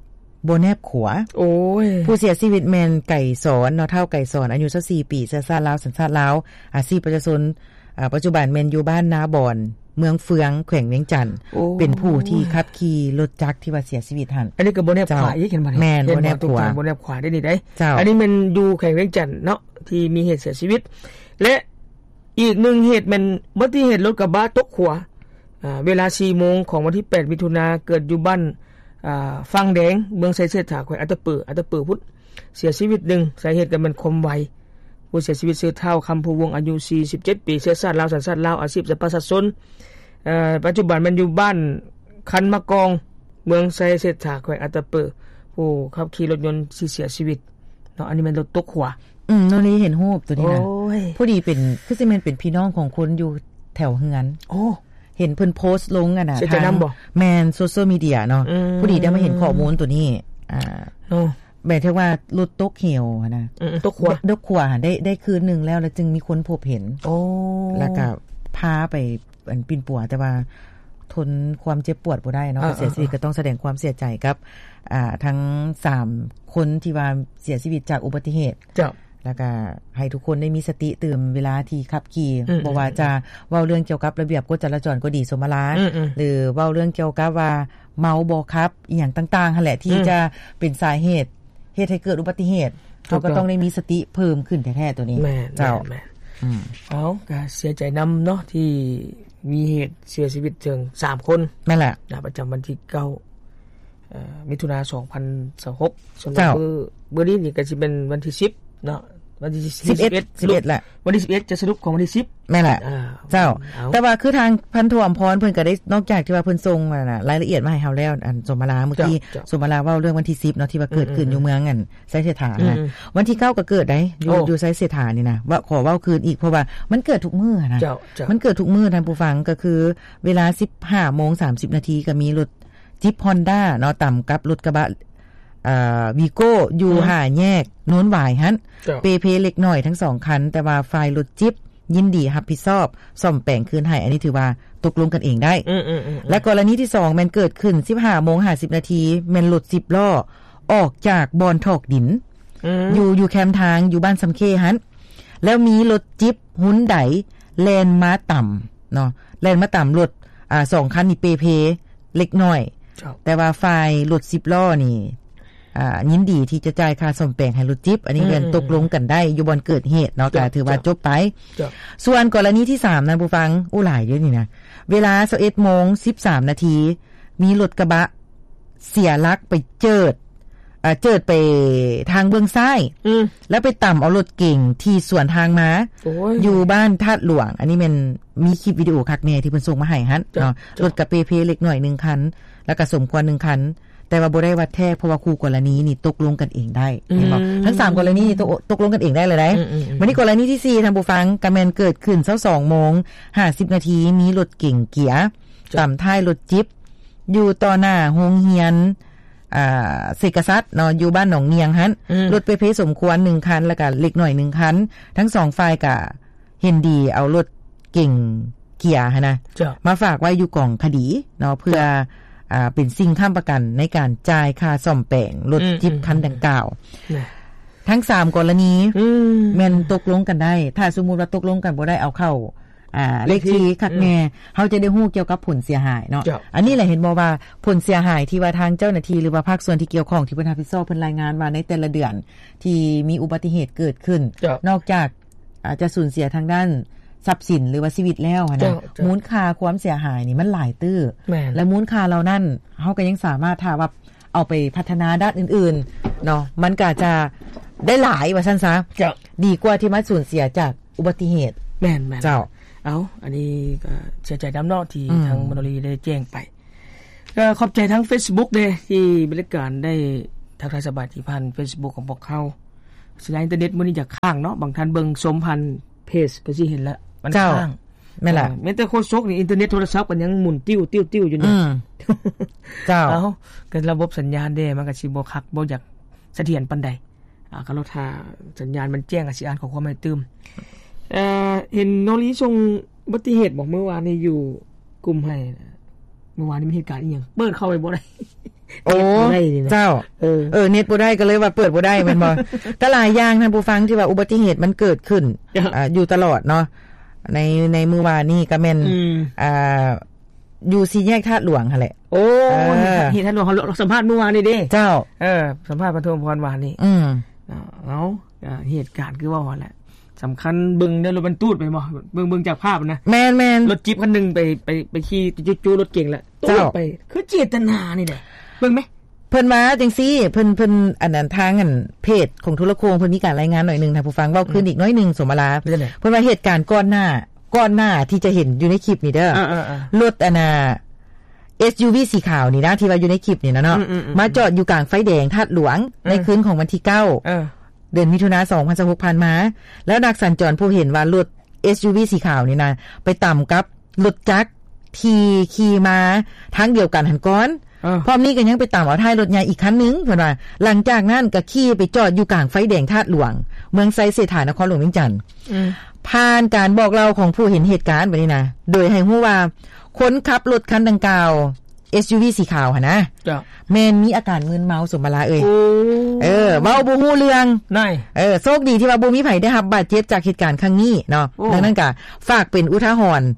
ບໍ່ແນບຂົວ ໂອ້ຍ ຜູ້ເສຍຊີວິດແມ່ນໄກສອນ ເນາະ ທ້າວໄກສອນ ອາຍຸຊາວສີ່ປີ ເຊື້ອຊາດລາວ ສັນຊາດລາວ ອາຊີບປະຊາຊົນ ອາ ປັດຈຸບັນແມ່ນຢູ່ບ້ານນາບອນ ເມືອງເຟືອງ ແຂວງວຽງຈັນ ໂອ້ຍ ເປັນຜູ້ທີ່ຂັບຂີ່ລົດຈັກທີ່ວ່າເສຍຊີວິດຫັ້ນ ອັນນີ້ກໍບໍ່ແນບຂວາອີກ ເຫັນບໍ່ນີ້ ແມ່ນ ເຫັນບໍ່ ບໍ່ແນບຂວາ ບໍ່ແນບຂວາໄດ້ນີ້ໄດ໋ ເຈົ້າ ອັນນີ້ແມ່ນຢູ່ແຂວງວຽງຈັນເນາະ ທີ່ມີເຫດເສຍຊີວິດ ແລະ ອີກໜຶ່ງເຫດແມ່ນອຸບັດຕິເຫດລົດກະບະຕົກຂົວ ອາ ເວລາສີ່ໂມງຂອງວັນທີແປດ ມິຖຸນາ ເກີດຢູ່ບ້ານ ອາ ຝັ່ງແດງ ເມືອງໄຊເສດຖາ ແຂວງອັດຕະປື ອັດຕະປືພຸ້ນ ເສຍຊີວິດໜຶ່ງ ສາເຫດກໍແມ່ນຄວາມໄວ ຜູ້ເສຍຊີວິດຊື່ ທ້າວ ຄຳພູວົງ ອາຍຸສີ່ສິບເຈັດປີ ເຊື້ອຊາດລາວ ສັນຊາດລາວ ອາຊີບປະຊາຊົນ ເອີ ປັດຈຸບັນແມ່ນຢູ່ບ້ານຄັນມະກອງ ເມືອງໄຊເສດຖາ ແຂວງອັດຕະປື ຜູ້ຂັບຂີ່ລົດຍົນທີ່ເສຍຊີວິດເນາະ ອັນນີ້ແມ່ນລົດຕົກຂົວ ອືມ ໂນລີເຫັນຮູບຕົວນີ້ນະ ໂອ້ຍ ພໍດີເປັນ ຄືຊິແມ່ນເປັນພີ່ນ້ອງຂອງຄົນຢູ່ແຖວເຮືອນ ໂອ້ ເຫັນເພິ່ນໂພສລົງ ອັນນະ ເສຍໃຈນຳບໍ່ ທາງ ແມ່ນ ໂຊຊຽວມີເດຍເນາະ ອືມ ພໍດີໄດ້ມາເຫັນຂໍ້ມູນຕົວນີ້ ອາ ເນາະ ແບບທີ່ວ່າລົດຕົກເຫວຫັ້ນນະ ອືມ ຕົກຂົວ ຕົກຂົວ ໄດ້ ໄດ້ຄືນໜຶ່ງແລ້ວ ແລ້ວຈຶ່ງມີຄົນພົບເຫັນ ໂອ້ ແລ້ວກໍພາໄປ ອັນ ປິ່ນປົວ ແຕ່ວ່າທົນຄວາມເຈັບປວດບໍ່ໄດ້ເນາະ ເອີ ເສຍຊີວິດ ເອີ ກໍຕ້ອງສະແດງຄວາມເສຍໃຈກັບ ອາ ທັງສາມຄົນທີ່ວ່າເສຍຊີວິດຈາກອຸບັດຕິເຫດ ເຈົ້າ ແລ້ວກໍໃຫ້ທຸກຄົນໄດ້ມີສະຕິຕື່ມເວລາທີ່ຂັບຂີ່ ອືມ ບໍ່ວ່າຈະເວົ້າເລື່ອງກ່ຽວກັບລະບຽບກົດຈະລາຈອນກໍດີ ສົມມະລາ ອືມໆ ຫຼືເວົ້າເລື່ອງກ່ຽວກັບວ່າເມົາບໍ່ຂັບ ອີ່ຫຍັງຕ່າງໆຫັ້ນແຫຼະ ທີ່ ອືມ ຈະເປັນສາເຫດ ເຮັດໃຫ້ເກີດອຸບັດຕິເຫດ ເຮົາກໍຕ້ອງໄດ້ມີສະຕິເພີ່ມຂຶ້ນແທ້ໆ ໂຕນີ້ ແມ່ນ ເຈົ້າ ແມ່ນ ອືມ ເອົາ ກໍເສຍໃຈນຳເນາະ ທີ່ມີເຫດເສຍຊີວິດເຖິງສາມຄົນ ແມ່ນແຫຼະ ນະ ປະຈຳວັນທີເກົ້າ ເອີ ມິຖຸນາ ສອງພັນຊາວຫົກ ສຳລັບ ເຈົ້າ ມື້ ມື້ນີ້ນີ້ກໍຊິແມ່ນວັນທີສິບເນາະ ວັນທີສິບເອັດ ສິບເອັດ ສິບເອັດແຫຼະ ວັນທີສິບເອັດຈະສະຫຼຸບຂອງວັນທີສິບ ແມ່ນແຫຼະ ເຈົ້າ. ແຕ່ວ່າຄືທາງພັນໂທອຳພອນເພິ່ນກໍໄດ້ ນອກຈາກທີ່ວ່າເພິ່ນສົ່ງ ອາ ລາຍລະອຽດມາໃຫ້ເຮົາແລ້ວ ອັນ ສົມມະລາ ເມື່ອກີ້ ເຈົ້າ ສົມມະລາເວົ້າເລື່ອງວັນທີສິບເນາະ ທີ່ວ່າເກີດຂຶ້ນ ອືມ ຢູ່ເມືອງ ອັນ ໄຊເສດຖາ ອືມ ນະ ອືມ ວັນທີເກົ້າກໍເກີດໄດ໋ ຢູ່ ໂອ້ ຢູ່ໄຊເສດຖານີ້ນະ ວ່າ ຂໍເວົ້າຄືນອີກ ເພາະວ່າມັນເກີດທຸກມື້ນະ ເຈົ້າ ເຈົ້າ ມັນເກີດທຸກມື້ທ່ານຜູ້ຟັງ ກໍຄືເວລາສິບຫ້າໂມງສາມສິບນາທີ ກໍມີລົດຈິບຮອນດ້າເນາະ ຕຳກັບລົດກະບະ ເອີ ວີໂກ້ ຢູ່ ອືມ ຫ້າແຍກໂນນຫວາຍຫັ້ນ ເຈົ້າ ເປ່ເພເລັກນ້ອຍທັງສອງຄັນ ແຕ່ວ່າຝ່າຍລົດຈິບ ຍິນດີຮັບຜິດຊອບສ້ອມແປງຄືນໃຫ້ ອັນນີ້ຖືວ່າຕົກລົງກັນເອງໄດ້ ອືມໆໆໆ ແລະ ກໍລະນີທີສອງແມ່ນເກີດຂຶ້ນສິບຫ້າໂມງຫ້າສິບນາທີ ແມ່ນລົດສິບລໍ້ອອກຈາກບ່ອນຖອກດິນ ອືມ ຢູ່ ຢູ່ແຄມທາງ ຢູ່ບ້ານຊຳເຄຫັ້ນ ແລ້ວມີລົດຈິບຮຸນໄດແລ່ນມາຕຳເນາະ ແລ່ນມາຕຳລົດ ອາ ສອງຄັນນີ້ເປ່ເພເລັກນ້ອຍ ເຈົ້າ ແຕ່ວ່າຝ່າຍລົດສິບລໍ້ນີ້ ອ່າ ຍິນດີທີ່ຈະຈ່າຍຄ່າສ້ອມແປງໃຫ້ລົດຈິບ ອັນນີ້ ອືມ ກໍຕົກລົງກັນໄດ້ຢູ່ບ່ອນເກີດເຫດເນາະ ເຈົ້າ ກໍຖືວ່າ ເຈົ້າ ຈົບໄປ ເຈົ້າ. ສ່ວນກໍລະນີທີສາມນະຜູ້ຟັງ ໂອ້ ຫຼາຍຢູ່ນີ້ນະ ເວລາຊາວເອັດໂມງສິບສາມນາທີ ມີລົດກະບະເສຍຫຼັກໄປເຈີດ ເຈີດໄປທາງເບື້ອງຊ້າຍ ອືມ ແລ້ວໄປຕຳເອົາລົດເກັງທີ່ສວນທາງມາ ໂອ້ຍ ຢູ່ບ້ານທາດຫຼວງ ອັນນີ້ແມ່ນມີຄລິບວິດີໂອຄັກແນ່ທີ່ເພິ່ນສົ່ງມາໃຫ້ຫັ້ນ ເຈົ້າ ເນາະ ເຈົ້າ ລົດກະເປ່ເພເລັກນ້ອຍໜຶ່ງຄັນ ແລ້ວກະສົມຄວນໜຶ່ງຄັນ ແຕ່ວ່າບໍ່ໄດ້ວ່າແທກ ເພາະວ່າຄູ່ກໍລະນີນີ້ຕົກລົງກັນເອງໄດ້ ອືມ ເຫັນບໍ່ ທັງສາມກໍລະນີນີ້ຕົກ ຕົກລົງກັນເອງໄດ້ແລ້ວໃດ໋ ອືມໆໆ ບັດນີ້ກໍລະນີທີສີ່ ທ່ານຜູ້ຟັງ ກໍແມ່ນເກີດຂຶ້ນຊາວສອງໂມງຫ້າສິບນາທີ ມີລົດເກັງເກຍ ເຈົ້າ ຕຳທ້າຍລົດຈິບ ຢູ່ຕໍ່ໜ້າໂຮງຮຽນ ອ່າ ເສກະສັດເນາະ ຢູ່ບ້ານໜອງນຽງຫັ້ນ ອືມ ລົດເປ່ເພສົມຄວນໜຶ່ງຄັນ ແລ້ວກະເລັກນ້ອຍໜຶ່ງຄັນ ທັງສອງຝ່າຍກະ ເຫັນດີເອົາລົດເກັງເກຍຫັ້ນນະ ເຈົ້າ ມາຝາກໄວ້ຢູ່ກອງຄະດີເນາະ ເພື່ອ ເຈົ້າ ອ່າ ເປັນສິ່ງຄ້ຳປະກັນໃນການຈ່າຍຄ່າສ້ອມແປງລົດ ອືມ ຈິບ ອືມ ຄັນດັ່ງກ່າວ ນະ ທັງສາມກໍລະນີ ອືມ ແມ່ນຕົກລົງກັນໄດ້ ຖ້າສົມມຸດວ່າຕົກລົງກັນບໍ່ໄດ້ ເອົາເຂົ້າ ອ່າ ເລກທີ ເລກທີຄັກແນ່ ອືມ ເຮົາຈະໄດ້ຮູ້ກ່ຽວກັບຜົນເສຍຫາຍເນາະ ເຈົ້າ ອັນນີ້ແຫຼະ ເຫັນບໍ່ວ່າຜົນເສຍຫາຍທີ່ວ່າທາງເຈົ້າໜ້າທີ່ ຫຼືວ່າພາກສ່ວນທີ່ກ່ຽວຂ້ອງທີ່ເພິ່ນຮັບຜິດຊອບ ເພິ່ນລາຍງານວ່າໃນແຕ່ລະເດືອນທີ່ມີອຸບັດຕິເຫດເກີດຂຶ້ນ ເຈົ້າ ນອກຈາກ ອາດຈະສູນເສຍທາງດ້ານຊັບສິນ ຫຼືວ່າຊີວິດແລ້ວຫັ້ນນະ ເຈົ້າ ເຈົ້າ ມູນຄ່າຄວາມເສຍຫາຍນີ້ມັນຫຼາຍຕື້ ແມ່ນ ແລະ ມູນຄ່າເຫຼົ່ານັ້ນ ເຮົາກໍຍັງສາມາດ ຖ້າວ່າເອົາໄປພັດທະນາດ້ານອື່ນໆເນາະ ມັນກໍອາດຈະໄດ້ຫຼາຍວ່າຊັ້ນຊະ ເຈົ້າ ດີກວ່າທີ່ມາສູນເສຍຈາກອຸບັດຕິເຫດ ແມ່ນໆ ເຈົ້າ ເອົາ ອັນນີ້ກໍເສຍໃຈນຳເນາະ ທີ່ ອືມ ທາງມະໂນລີໄດ້ແຈ້ງໄປ ກໍຂອບໃຈທາງເຟສບຸກເດ້ ທີ່ບໍລິການໄດ້ທັກທາຍສະບາຍດີຜ່ານເຟສບຸກຂອງພວກເຮົາ. ສັນຍານອິນເຕີເນັດມື້ນີ້ຈະຄ້າງເນາະ ບາງທ່ານເບິ່ງຊົມຜ່ານເພຈກໍຊິເຫັນລະ ມັນ ເຈົ້າ ຄ້າງ ແມ່ນລະ ເອີ ແມ່ນແຕ່ໂຄສົກນີ້ ອິນເຕີເນັດໂທລະສັບກໍຍັງໝູນຕິ້ວໆໆຢູ່ນີ້ ອືມ ເຈົ້າ ເອົາ ກໍລະບົບສັນຍານເດ້ ມັນກໍຊິບໍ່ຄັກ ບໍ່ຢາກສະຖຽນປານໃດ ອ່າ ກໍລໍຖ້າສັນຍານມັນແຈ້ງ ກໍຊິອ່ານຂໍ້ຄວາມໃຫ້ຕື່ມ. ເອີ ເຫັນນ້ອງລີສົ່ງອຸບັດຕິເຫດບໍ ມື້ວານນີ້ຢູ່ກຸ່ມໃຫ້ ມື້ວານນີ້ມີເຫດການອີ່ຫຍັງ ເປີດເຂົ້າໄປບໍ່ໄດ້ ໂອ້ ເນັດບໍ່ໄດ້ນີ້ນະ ເຈົ້າ ເອີ ເອີ ເນັດບໍ່ໄດ້ກໍເລີຍວ່າເປີດບໍ່ໄດ້ແມ່ນບໍ່? ກໍຫຼາຍຢ່າງທ່ານຜູ້ຟັງ ທີ່ວ່າອຸບັດຕິເຫດມັນເກີດຂຶ້ນ ເຈົ້າ ອ່າ ຢູ່ຕະຫຼອດເນາະ ໃນ ໃນມື້ວານນີ້ກໍແມ່ນ ອືມ ອ່າ ຢູ່ສີ່ແຍກທາດຫຼວງຫັ້ນແຫຼະ ໂອ້ ເອີ ເຫດທາດຫຼວງ ເຮົາສຳພາດມື້ວານນີ້ເດ້ ເຈົ້າ ເອີ ສຳພາດພັນໂທອຳພອນວານນີ້ ອືມ ເອົາ ເອົາ ເຫດການຄືເວົ້າຫັ້ນແຫຼະ ສຳຄັນເບິ່ງໃນລົດບັນທຸກໄປບໍ່ ເບິ່ງ ເບິ່ງຈາກພາບນະ ແມ່ນໆ ລົດຈິບຄັນໜຶ່ງໄປ ໄປ ໄປຂີ່ຈູ້ໆລົດເກັງແລ້ວ ເຈົ້າ ຕູດໄປ ຄືເຈດຕະນານີ້ແຫຼະ ເບິ່ງແມ ເພິ່ນວ່າຈັ່ງຊີ້ ເພິ່ນ ເພິ່ນ ອັນນັ້ນ ທາງ ອັນ ເພຈຂອງໂທລະໂຄ່ງ ເພິ່ນມີການລາຍງານໜ້ອຍໜຶ່ງ ທ່ານຜູ້ຟັງ ເວົ້າຄືນອີກໜ້ອຍໜຶ່ງ ອືມ ສົມມະລາ ເປັນຈັ່ງໃດ? ເພິ່ນວ່າເຫດການກ່ອນໜ້າ ກ່ອນໜ້າທີ່ຈະເຫັນຢູ່ໃນຄລິບນີ້ເດີ ເອີໆໆ ລົດອັນນ່າ ເອັສຢູວີສີຂາວນີ້ນະ ທີ່ວ່າຢູ່ໃນຄລິບນີ້ນະເນາະ ອືມໆໆ ມາຈອດຢູ່ກາງໄຟແດງທາດຫຼວງ ເອີ ໃນຄືນຂອງວັນທີເກົ້າ ເອີ ເດືອນມິຖຸນາ ສອງພັນຊາວຫົກ ຜ່ານມາ ແລ້ວນັກສັນຈອນພົບເຫັນວ່າລົດເອັສຢູວີສີຂາວນີ້ນະ ໄປຕຳກັບລົດຈັກທີ່ຂີ່ມາທາງດຽວກັນຫັ້ນກ່ອນ ເອີ ພ້ອມນີ້ກໍຍັງໄປຕຳເອົາທ້າຍລົດໃຫຍ່ອີກຄັນໜຶ່ງ ເພິ່ນວ່າ ຫຼັງຈາກນັ້ນກໍຂີ່ໄປຈອດຢູ່ກາງໄຟແດງທາດຫຼວງ ເມືອງໄຊເສດຖາ ນະຄອນຫຼວງວຽງຈັນ ອືມ ຜ່ານການບອກເລົ່າຂອງຜູ້ເຫັນເຫດການບັດນີ້ນະ ໂດຍໃຫ້ຮູ້ວ່າ ຄົນຂັບລົດຄັນດັ່ງກ່າວ ເອັສຢູວີສີຂາວຫັ້ນນະ ເຈົ້າ ແມ່ນມີອາການມຶນເມົາ ສົມມະລາເອີຍ ໂອ້ ເອີ ເວົ້າບໍ່ຮູ້ເລື່ອງ ເອີ ໂຊກດີທີ່ວ່າບໍ່ມີໃຜໄດ້ຮັບບາດເຈັບຈາກເຫດການຄັ້ງນີ້ເນາະ ໂອ້ ດັ່ງນັ້ນກໍຝາກເປັນອຸທາຫອນ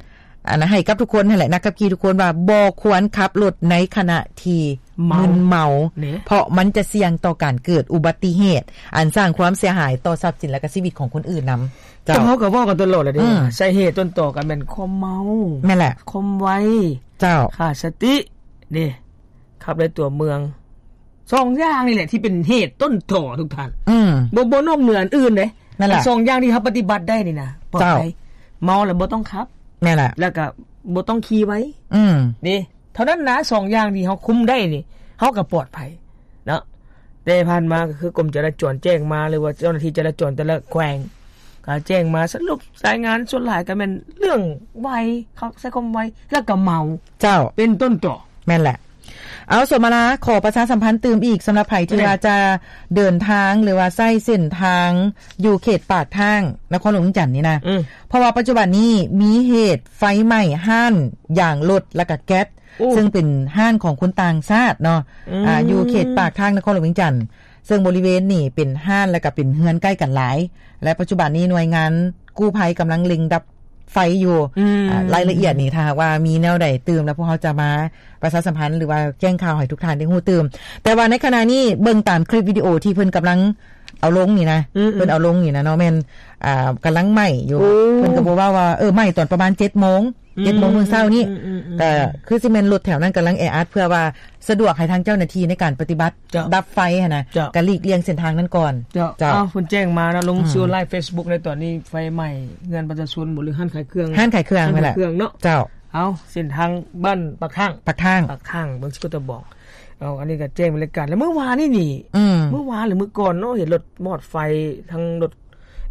ອັນ ໃຫ້ກັບທຸກຄົນຫັ້ນແຫຼະ ນັກຂັບຂີ່ທຸກຄົນວ່າບໍ່ຄວນຂັບລົດໃນຂະນະທີ່ມຶນເມົາ ເພາະມັນຈະສ່ຽງຕໍ່ການເກີດອຸບັດຕິເຫດ ອັນສ້າງຄວາມເສຍຫາຍຕໍ່ຊັບສິນ ແລະ ກະຊີວິດຂອງຄົນອື່ນນຳ ເຈົ້າ ເຮົາກໍເວົ້າກັນຕະຫຼອດແຫຼະເດ້ ອືມ ສາເຫດຕົ້ນຕໍກໍແມ່ນຄວາມເມົາ ແມ່ນແຫຼະ ຄວາມໄວ ເຈົ້າ ຂາດສະຕິເດ້ ຂັບໃນຕົວເມືອງ ສອງຢ່າງນີ້ແຫຼະທີ່ເປັນເຫດຕົ້ນຕໍ ທຸກທ່ານ ອືມ ບໍ່ ບໍ່ນອກເໜືອອັນອື່ນເດ້ ນັ້ນລະ ອັນສອງຢ່າງທີ່ເຮົາປະຕິບັດໄດ້ນີ້ນະ ປອດໄພ. ເຈົ້າ ເມົາແລ້ວບໍ່ຕ້ອງຂັບ. ແມ່ນລະ ແລ້ວກໍບໍ່ຕ້ອງຂີ່ໄວ. ອືມ ເດ້ ເທົ່ານັ້ນນະ ສອງຢ່າງທີ່ເຮົາຄຸມໄດ້ນີ້ ເຮົາກໍປອດໄພເນາະ. ແຕ່ຜ່ານມາກໍຄືກົມຈະລາຈອນແຈ້ງມາ ຫຼືວ່າເຈົ້າໜ້າທີ່ຈະລາຈອນແຕ່ລະແຂວງກໍແຈ້ງມາ ສະຫຼຸບລາຍງານສ່ວນຫຼາຍກໍແມ່ນເລື່ອງໄວ ເຂົາໃຊ້ຄວາມໄວ ແລ້ວກໍເມົາ. ເຈົ້າ ເປັນຕົ້ນຕໍ. ແມ່ນແຫຼະ. ເອົາ ສົມມາລາ ຂໍປະຊາສຳພັນຕື່ມອີກ ສຳລັບໃຜທີ່ວ່າຈະເດີນທາງ ຫຼືວ່າໃຊ້ເສັ້ນທາງຢູ່ເຂດປາກທາງນະຄອນຫຼວງວຽງຈັນນີ້ນະ ອືມ ເພາະວ່າປັດຈຸບັນນີ້ມີເຫດໄຟໄໝ້ຮ້ານຢາງລົດ ແລ້ວກະແກັສ ໂອ້ ເຊິ່ງເປັນຮ້ານຂອງຄົນຕ່າງຊາດເນາະ ອືມ ອ່າ ຢູ່ເຂດປາກທາງນະຄອນຫຼວງວຽງຈັນ ເຊິ່ງບໍລິເວນນີ້ເປັນຮ້ານ ແລ້ວກະເປັນເຮືອນໃກ້ກັນຫຼາຍ ແລະ ປັດຈຸບັນນີ້ໜ່ວຍງານກູ້ໄພກຳລັງເລັ່ງດັບ ໄຟຢູ່ ອືມ ອ່າ ລາຍລະອຽດນີ້ ຖ້າຫາກວ່າມີແນວໃດຕື່ມແລ້ວ ພວກເຮົາຈະມາປະຊາສຳພັນ ຫຼືວ່າແຈ້ງຂ່າວໃຫ້ທຸກທ່ານໄດ້ຮູ້ຕື່ມ. ແຕ່ວ່າໃນຂະນະນີ້ເບິ່ງຕາມຄລິບວິດີໂອທີ່ເພິ່ນກຳລັງເອົາລົງນີ້ນະ ອືມໆ ເພິ່ນເອົາລົງນີ້ນະເນາະ ແມ່ນ ອ່າ ກຳລັງໄໝ້ຢູ່ ໂອ້ ເພິ່ນກໍບໍ່ເວົ້າວ່າ ເອີ ໄໝ້ຕອນປະມານເຈັດໂມງ ອືມ ເຈັດໂມງມື້ເຊົ້ານີ້ ອືມໆໆ ກໍຄືຊິແມ່ນລົດແຖວນັ້ນກຳລັງແອອັດ ເພື່ອວ່າ ສະດວກໃຫ້ທາງເຈົ້າໜ້າທີ່ໃນການປະຕິບັດ ເຈົ້າ ດັບໄຟຫັ້ນນະ ເຈົ້າ ກໍຫຼີກລ່ຽງເສັ້ນທາງນັ້ນກ່ອນ. ເຈົ້າ ເຈົ້າ ອ້າວ ເພິ່ນແຈ້ງມາເນາະ ລົງ ອືມ ສື່ໄລຟ໌ເຟສບຸກໃນຕອນນີ້ ໄຟໄໝ້ເຮືອນປະຊາຊົນບໍ່ ຫຼືຮ້ານຂາຍເຄື່ອງ ຮ້ານຂາຍເຄື່ອງຫັ້ນແຫຼະ ຮ້ານຂາຍເຄື່ອງເນາະ ເຈົ້າ ເອົາ ເສັ້ນທາງບ້ານປາກທາງ ປາກທາງ ປາກທາງ ເບິ່ງຊິກໍຕະບອງ ເອົາ ອັນນີ້ກໍແຈ້ງບັນຍາກາດ ແລ້ວມື້ວານນີ້ນີ້ ອືມ ມື້ວານ ຫຼືມື້ກ່ອນເນາະ ເຫັນລົດມອດໄຟ ທັງລົດ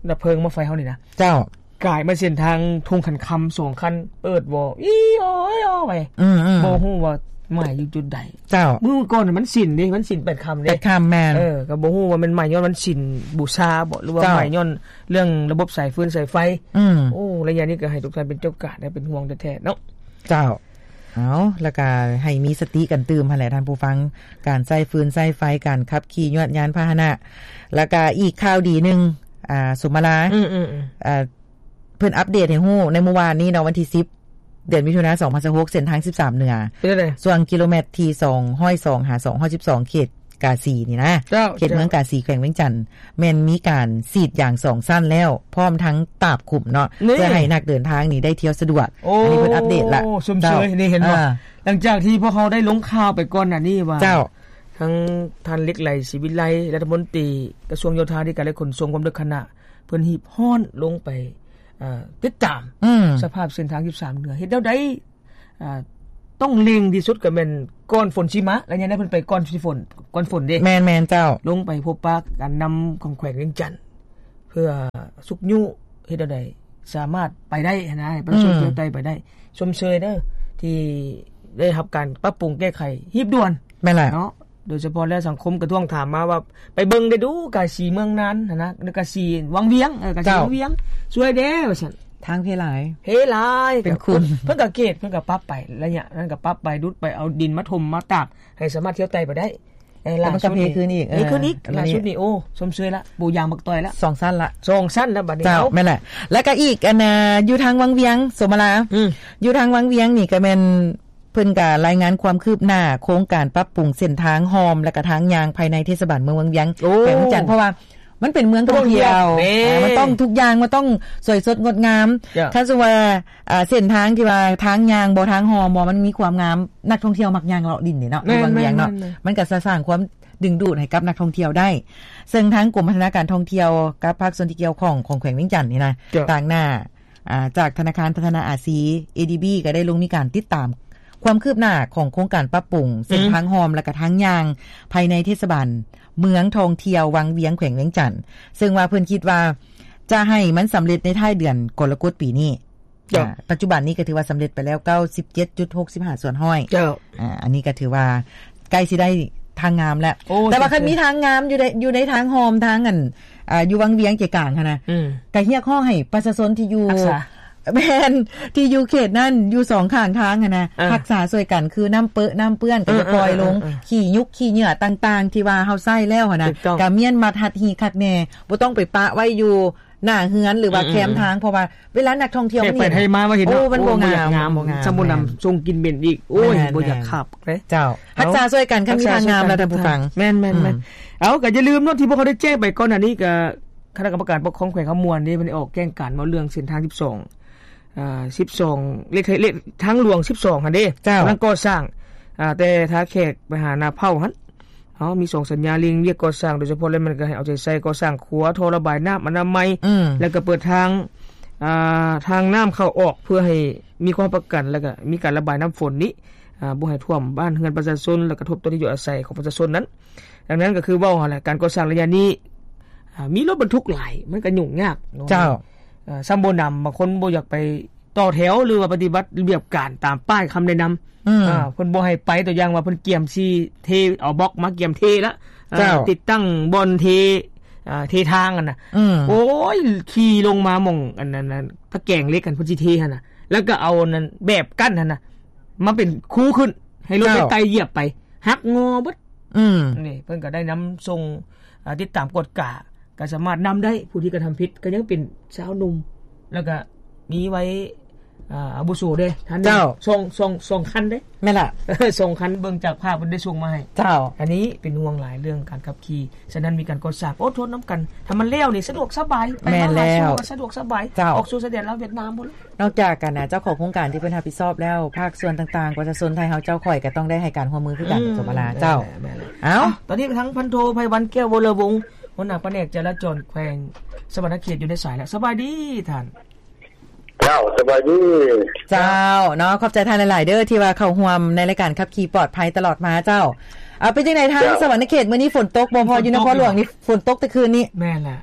ດັບເພີງມາໄຟເຮົານີ້ນະ ເຈົ້າ ກາຍມາເສັ້ນທາງທົ່ງຂັນຄຳສອງຄັນ ເປີດວໍ ອີ່ອໍ ອີ່ອໍ ໄປ ອືມໆ ບໍ່ຮູ້ວ່າໄໝ້ຢູ່ຈຸດໃດ. ເຈົ້າ ມື້ກ່ອນມັນສິນເດ້ ມັນສິນແປດຄ່ຳເດ້ ແປດຄ່ຳ ແມ່ນ ເອີ ກໍບໍ່ຮູ້ວ່າແມ່ນໄໝ້ຍ້ອນວັນສິນບູຊາບໍ ຫຼືວ່າ ເຈົ້າ ໄໝ້ຍ້ອນເລື່ອງລະບົບສາຍຟືນສາຍໄຟ. ອືມ ໂອ້ ໄລຍະນີ້ກໍໃຫ້ທຸກທ່ານເປັນເຈົ້າການ ແລະ ເປັນຫ່ວງແທ້ໆເນາະ. ເຈົ້າ ເອົາ ແລ້ວກໍໃຫ້ມີສະຕິກັນຕື່ມຫັ້ນແຫຼະທ່ານຜູ້ຟັງ ການໃຊ້ຟືນໃຊ້ໄຟ ການຂັບຂີ່ຍວດຍານພາຫະນະ. ແລ້ວກໍອີກຂ່າວດີໜຶ່ງ ອ່າ ສົມມາລາ ອືມໆໆ ອ່າ ເພິ່ນອັບເດດໃຫ້ຮູ້ໃນມື້ວານນີ້ເນາະ ວັນທີສິບ ເດືອນມິຖຸນາ ສອງພັນຊາວຫົກ ເສັ້ນທາງສິບສາມເໜືອ ເປັນຈັ່ງໃດ? ຊ່ວງກິໂລແມັດທີສອງຮ້ອຍສອງ ຫາ ສອງຮ້ອຍສິບສອງ ເຂດກາສີນີ້ນະ ເຈົ້າ ເຂດເມືອງກາສີ ແຂວງວຽງຈັນ ແມ່ນມີການສີດຢາງສອງຊັ້ນແລ້ວ ພ້ອມທັງຕາບຂຸມເນາະ ນີ້ ເພື່ອໃຫ້ນັກເດີນທາງນີ້ໄດ້ທ່ຽວສະດວກ. ໂອ້ ອັນນີ້ເພິ່ນອັບເດດລະ ຊົມເຊີຍ ເຈົ້າ ນີ້ເຫັນບໍ່? ອ່າ ຫຼັງຈາກທີ່ພວກເຮົາໄດ້ລົງຂ່າວໄປກ່ອນໜ້ານີ້ວ່າ ເຈົ້າ ທັງທ່ານ ເລັກໄຫຼ ສີວິໄລ ລັດຖະມົນຕີກະຊວງໂຍທາທິການ ແລະ ຂົນສົ່ງ ຄວາມເລິກຄະນະ ເພິ່ນຮີບຮ້ອນລົງໄປ ເອີ ຕິດຕາມ ອືມ ສະພາບເສັ້ນທາງສິບສາມເໜືອ ເຮັດແນວໃດ ອ່າ ຕ້ອງເລັ່ງທີ່ສຸດກໍແມ່ນກ່ອນຝົນຊິມາ ໄລຍະນັ້ນເພິ່ນໄປກ່ອນຝົນ ກ່ອນຝົນເດ້. ແມ່ນໆ ເຈົ້າ ລົງໄປພົບປະການນຳຂອງແຂວງວຽງຈັນ ເພື່ອຊຸກຍູ້ເຮັດແນວໃດສາມາດໄປໄດ້ຫັ້ນນະ ໃຫ້ປະຊາຊົນ ອືມ ທ່ຽວໄຕ່ໄປໄດ້. ຊົມເຊີຍເດີ ທີ່ໄດ້ຮັບການປັບປຸງແກ້ໄຂຮີບດ່ວນ. ແມ່ນແຫຼະ ເນາະ ໂດຍສະເພາະແລ້ວສັງຄົມກະທ້ວງຖາມມາວ່າ ໄປເບິ່ງໄດ້ດູ ກາສີເມືອງນານຫັ້ນນະ ກາສີວັງວຽງ ເອີ ກາສີ ເຈົ້າ ວັງວຽງ ຊ່ວຍແດ່ວ່າຊັ້ນ. ທາງເພຫຼາຍ ເພຫຼາຍ ເປັນຂຸມ ເພິ່ນກະເກດ ເພິ່ນກະປັບໄປ ໄລຍະນັ້ນກະປັບໄປ ດຸດໄປ ເອົາດິນມາຖົມມາຕາກ ໃຫ້ສາມາດທ່ຽວໄຕ່ໄປໄດ້. ເອີ ແລ້ວມັນກະເພຂຶ້ນອີກ ເພຂຶ້ນອີກ ເອີ ຫຼ້າສຸດນີ້ ໂອ້ ຊົມເຊີຍລະ ປູຢາງບັກຕ່ອຍລະ ສອງຊັ້ນລະ ສອງຊັ້ນລະບັດນີ້. ເຈົ້າ ເອົ້າ ແມ່ນແຫຼະ. ແລ້ວກະອີກອັນນະ ຢູ່ທາງວັງວຽງ ສົມມາລາ ອືມ ຢູ່ທາງວັງວຽງນີ້ກະແມ່ນ ເພິ່ນກະລາຍງານຄວາມຄືບໜ້າໂຄງການປັບປຸງເສັ້ນທາງຮ່ອມ ແລະກະທາງຍ່າງພາຍໃນເທດສະບານເມືອງວັງວຽງ ໂອ້ ແຂວງວຽງຈັນ ເພາະວ່າມັນເປັນເມືອງທ່ອງທ່ຽວ ເອີ ມັນຕ້ອງທຸກຢ່າງ ມັນຕ້ອງສວຍສົດງົດງາມ. ເຈົ້າ ຄັນສົມມຸດວ່າ ອ່າ ເສັ້ນທາງທີ່ວ່າທາງຍ່າງບໍ່ ທາງຮ່ອມບໍ່ ມັນມີຄວາມງາມ ນັກທ່ອງທ່ຽວມັກຍ່າງເລາະຫຼິ້ນເດ້ເນາະ ຢູ່ວັງວຽງເນາະ ມັນກະຈະສ້າງຄວາມດຶງດູດໃຫ້ກັບນັກທ່ອງທ່ຽວໄດ້. ເຊິ່ງທາງກົມພັດທະນາການທ່ອງທ່ຽວກັບພາກສ່ວນທີ່ກ່ຽວຂ້ອງຂອງແຂວງວຽງຈັນນີ້ນະ ເຈົ້າ ຕາງໜ້າ ອ່າ ຈາກທະນາຄານພັດທະນາອາຊີ ເອດີບີ ກໍໄດ້ລົງມີການຕິດຕາມຄວາມຄືບໜ້າຂອງໂຄງການປັບປຸງເສັ້ນ ອືມ ທາງຮ່ອມ ແລະກະທາງຍ່າງພາຍໃນເທດສະບານເມືອງທ່ອງທ່ຽວວັງວຽງ ແຂວງວຽງຈັນ ເຊິ່ງວ່າເພິ່ນຄິດວ່າຈະໃຫ້ມັນສຳເລັດໃນທ້າຍເດືອນກໍລະກົດປີນີ້. ເຈົ້າ ອ່າ ປັດຈຸບັນນີ້ກໍຖືວ່າສຳເລັດໄປແລ້ວ ເກົ້າສິບເຈັດຈຸດຫົກສິບຫ້າສ່ວນຮ້ອຍ. ເຈົ້າ ອ່າ ອັນນີ້ກໍຖືວ່າໃກ້ຊິໄດ້ທາງງາມແລ້ວ. ໂອ້ ແຕ່ວ່າຄັນມີທາງງາມຢູ່ໃນ ຢູ່ໃນທາງຮ່ອມທາງອັນ ອ່າ ຢູ່ວັງວຽງໃຈກາງຫັ້ນນະ ອືມ ກໍຮຽກຮ້ອງໃຫ້ປະຊາຊົນທີ່ຢູ່ ຮັກສາ ແມ່ນ ທີ່ຢູ່ເຂດນັ້ນ ຢູ່ສອງຂ້າງທາງຫັ້ນນະ ອ່າ ຮັກສາຊ່ວຍກັນ ຄືນ້ຳເປິ້ນ ນ້ຳເປື້ອນ ກໍຢ່າປ່ອຍລົງ ອ່າໆໆໆ ຂີ້ຍຸກຂີ້ເຫຍື້ອຕ່າງໆ ທີ່ວ່າເຮົາໃຊ້ແລ້ວຫັ້ນນະ ຖືກຕ້ອງ ກໍມ້ຽນມັດຮັດຮີບຄັກແນ່ ບໍ່ຕ້ອງໄປປະໄວ້ຢູ່ ໜ້າເຮືອນ ຫຼືວ່າ ອືມໆໆ ແຄມທາງ ເພາະວ່າເວລານັກທ່ອງທ່ຽວມັນເຫັນ ໄປໄທມາວ່າເຫັນ ໂອ້ ເນາະ ມັນບໍ່ງາມ ໂອ້ ມັນບໍ່ງາມ ມັນບໍ່ງາມ ສຳບໍ່ນຳ ແມ່ນໆ ຊົງກິນເໝັນອີກ ໂອ້ຍ ແມ່ນໆ ບໍ່ຢາກຂັບເດ້. ເຈົ້າ ຮັກສາຊ່ວຍກັນ ຄັນມີທາງງາມແລ້ວທ່ານຜູ້ຟັງ ແມ່ນໆໆ ອືມ ເອົາ ກໍຢ່າລືມເນາະ ທີ່ພວກເຮົາໄດ້ແຈ້ງໄປກ່ອນໜ້ານີ້ ກໍຄະນະກຳມະການປົກຄອງແຂວງຄຳມ່ວນເດ້ ເພິ່ນໄດ້ອອກແຈ້ງການເວົ້າເລື່ອງເສັ້ນທາງສິບສອງ ອ່າ ສິບສອງ ເລກ ເລກທາງຫຼວງສິບສອງຫັ້ນເດ້ ເຈົ້າ ກຳລັງກໍ່ສ້າງ ອ່າ ແຕ່ທ່າແຂກໄປຫານາເພົ້າຫັ້ນ ເຮົາມີສອງສັນຍາເລັ່ງວຽກກໍ່ສ້າງ ໂດຍສະເພາະແລ້ວແມ່ນກໍໃຫ້ເອົາໃຈໃສ່ກໍ່ສ້າງຂົວ ທໍ່ລະບາຍນ້ຳອະນາໄມ ແລ້ວກໍເປີດທາງ ອ່າ ທາງນ້ຳເຂົ້າອອກ ເພື່ອໃຫ້ມີຄວາມປະກັນ ແລ້ວກໍມີການລະບາຍນ້ຳຝົນນີ້ ອ່າ ບໍ່ໃຫ້ຖ້ວມບ້ານເຮືອນປະຊາຊົນ ແລ້ວກະທົບຕໍ່ທີ່ຢູ່ອາໄສຂອງປະຊາຊົນນັ້ນ. ດັ່ງນັ້ນກໍຄືເວົ້າຫັ້ນແຫຼະ ການກໍ່ສ້າງໄລຍະນີ້ ອ່າ ມີລົດບັນທຸກຫຼາຍ ມັນກໍຫຍຸ້ງຍາກເນາະ. ເຈົ້າ. ເອີ ຊ້ຳບໍ່ໜຳ ບາງຄົນບໍ່ຢາກໄປຕໍ່ແຖວ ຫຼືວ່າປະຕິບັດລະບຽບການຕາມປ້າຍຄຳແນະນຳ ອືມ ອ່າ ເພິ່ນບໍ່ໃຫ້ໄປ ຕົວຢ່າງວ່າເພິ່ນກຽມຊິເທ ເອົາບລັອກມາກຽມເທລະ ເຈົ້າ ຕິດຕັ້ງບ່ອນເທ ອ່າ ເທທາງຫັ້ນນະ ອືມ ໂອ້ຍ ຂີ່ລົງມາໝ່ອງອັນນັ້ນ ຕະແກງເຫຼັກຫັ້ນ ເພິ່ນຊິເທຫັ້ນນະ ແລ້ວກໍເອົາອັນນັ້ນແບບກັ້ນຫັ້ນນະ ມາເປັນຄູຂຶ້ນ ໃຫ້ລົດໄດ້ ເຈົ້າ ໄຕ່ຢຽບໄປ ຫັກງໍເບິດ ອືມ ນີ້ເພິ່ນກໍໄດ້ນຳສົ່ງ ອ່າ ຕິດຕາມກວດກາ ກໍສາມາດນຳໄດ້ ຜູ້ທີ່ກະທຳຜິດກໍຍັງເປັນຊາວໜຸ່ມ ແລ້ວກໍມີໄວ້ ອ່າ ອາວຸໂສເດ້ ທ່ານໜຶ່ງ ເຈົ້າ ສອງ ສອງ ສອງຄັນເດ້ ແມ່ນລະ ສອງຄັນ ເບິ່ງຈາກພາບເພິ່ນໄດ້ສົ່ງມາໃຫ້ ເຈົ້າ ອັນນີ້ເປັນຫ່ວງຫຼາຍເລື່ອງການຂັບຂີ່ ສະນັ້ນມີການກໍ່ສ້າງ ອົດທົນນຳກັນ ຖ້າມັນແລ້ວນີ້ສະດວກສະບາຍ ໄປມາຫາສູ່ກໍສະດວກສະບາຍ ເຈົ້າ ອອກສູ່ຊາຍແດນລາວຫວຽດນາມພຸ້ນ ນອກຈາກການນະ ເຈົ້າຂອງໂຄງການທີ່ເພິ່ນຮັບຜິດຊອບແລ້ວ ພາກສ່ວນຕ່າງໆ ປະຊາຊົນໄທເຮົາເຈົ້າຂ້ອຍກໍຕ້ອງໄດ້ໃຫ້ການຮ່ວມມືຄືກັນ ອືມ ສົມມະລາ ເຈົ້າ ແມ່ນແຫຼະ ເອົ້າ ຕອນນີ້ໄປທາງພັນໂທ ໄພວັນ ແກ້ວວໍລະວົງ ຫົວໜ້າພະແນກຈະລາຈອນແຂວງສະຫວັນນະເຂດຢູ່ໃນສາຍແລ້ວ ສະບາຍດີທ່ານ. ເຈົ້າ ສະບາຍດີ. ເຈົ້າ ເນາະ ຂອບໃຈທ່ານຫຼາຍໆເດີ ທີ່ວ່າເຂົ້າຮ່ວມໃນລາຍການຂັບຂີ່ປອດໄພຕະຫຼອດມາເຈົ້າ. ເອົາ ເປັນຈັ່ງໃດທາງ ເຈົ້າ ສະຫວັນນະເຂດ ມື້ນີ້ຝົນຕົກບໍ່? ພໍຢູ່ນະຄອນຫຼວງນີ້ຝົນຕົກແຕ່ຄືນນີ້. ແມ່ນແຫຼະ.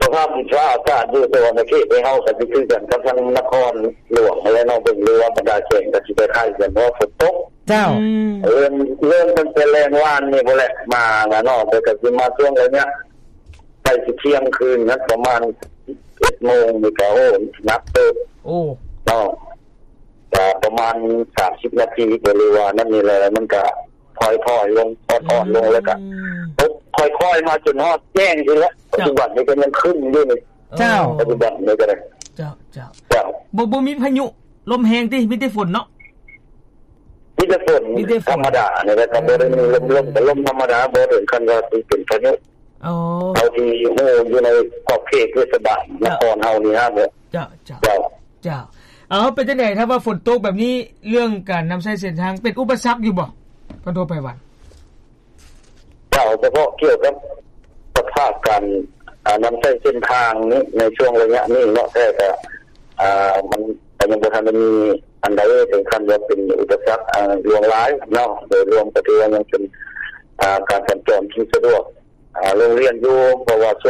ສະພາບດິນຟ້າອາກາດຢູ່ສະຫວັນນະເຂດໃນເຮົາກໍຊິຄືກັນກັບທາງນະຄອນຫຼວງຫັ້ນແຫຼະເນາະ ເບິ່ງເລີວ່າບັນດາແຂວງກໍຊິຄ້າຍໆກັນ ເພາະວ່າຝົນຕົກ. ເຈົ້າ. ອືມ ເລີ່ມ ເລີ່ມຕັ້ງແຕ່ແລງວານນີ້ພຸ້ນແຫຼະ ມານະເນາະ ແຕ່ກໍຊິມາຊ່ວງໄລຍະໃກ້ຊິທ່ຽງຄືນນະ ປະມານເອັດໂມງນີ້ກໍ ໂອ້ ໜັກເຕີບ. ໂອ້ ເນາະ ກໍປະມານສາມສິບນາທີ ກໍເລີຍວ່ານັ້ນນີ້ແຫຼະ ມັນກໍ ຄ່ອຍໆລົງ ອ່ອນໆລົງ ອືມ ແລ້ວກໍຕົກຄ່ອຍໆມາຈົນຮອດແຈ້ງຊີ້ແຫຼະ. ເຈົ້າ. ປັດຈຸບັນນີ້ກໍຍັງຄຶ້ມຢູ່ນີ້. ເຈົ້າ. ເອີ ປັດຈຸບັນນີ້ກໍໄດ້. ເຈົ້າ ເຈົ້າ ເຈົ້າ. ບໍ່ ບໍ່ມີພາຍຸລົມແຮງຕິ ມີແຕ່ຝົນເນາະ? ມີແຕ່ຝົນ ມີແຕ່ຝົນທຳມະດານີ້ແຫຼະ ກໍບໍ່ໄດ້ມີລົມ ລົມກໍລົມທຳມະດາ ບໍ່ເຖິງຂັ້ນວ່າຊິເປັນພາຍຸ. ອໍ ເທົ່າທີ່ຮູ້ຢູ່ໃນຂອບເຂດເທດສະບານນະຄອນເຮົານີ້ນະ. ເຈົ້າ ເຈົ້າ ເຈົ້າ. ເຈົ້າ ເອົາ ເປັນຈັ່ງໃດ ຖ້າວ່າຝົນຕົກແບບນີ້ ເລື່ອງການນຳໃຊ້ເສັ້ນທາງເປັນອຸປະສັກຢູ່ບໍ່ ພັນໂທ ໄພວັນ? ເຈົ້າ ສະເພາະກ່ຽວກັບສະພາບການ ອ່າ ນຳໃຊ້ເສັ້ນທາງນີ້ ໃນຊ່ວງໄລຍະນີ້ເນາະ ແທ້ກໍ ອ່າ ມັນກໍຍັງບໍ່ທັນໄດ້ມີອັນໃດເຖິງຂັ້ນວ່າເປັນອຸປະສັກ ອ່າ ຫຼວງຫຼາຍເນາະ. ໂດຍລວມກໍຖືວ່າຍັງເປັນ ອ່າ ການສັນຈອນທີ່ສະດວກ ອ່າ ໂຮງຮຽນຢູ່ ເພາະວ່າຊ່